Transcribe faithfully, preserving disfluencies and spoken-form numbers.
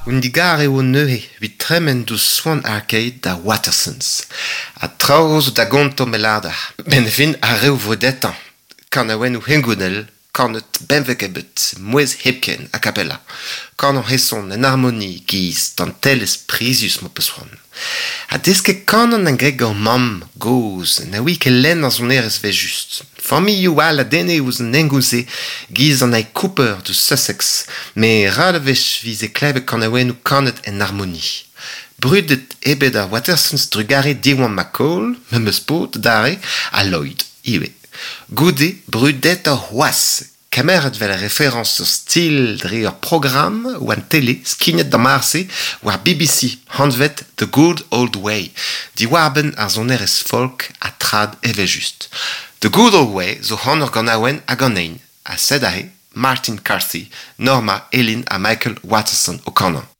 Un digar eo neuze evit tremen deus Swan Arcade da Watersons. Ha traoù zo da gontañ me 'lâr deoc'h. 'Benn ar fin ar reoù vrudetañ. Kanaouennoù hengounel, kanet benveg ebet, mouezh hepken, a cappella. Kanañ heson en harmoni 'giz dantelezh prizius m'ho peus c'hoant. Ha desket kanañ 'na graet gant mamm gozh na ouie ket lenn ar sonerezh 'vel-just. Familhoù all a denne ouzh an hengoun-se 'giz an A. Cooper deus Sussex met ral a wech 'vize klevet kanaouennoù kanet en harmoni. Brudet eo bet ar Watersons trugarez Diwan McCall, memes paotr adarre, ha Lloyd ivez. Goude brudetoc'h c'hoazh kemeret 'vel referañs ur stil dre ur programm war an tele skignet d'ar mare-se war B B C anvet The Good Old Way diwar-benn ar sonerezh folk ha trad evel-just. The Good Old Way zo anv ur ganaouenn hag an ein ha sed aze Martin Carthy, Norma, Eileen ha Michael Waterson o kanañ.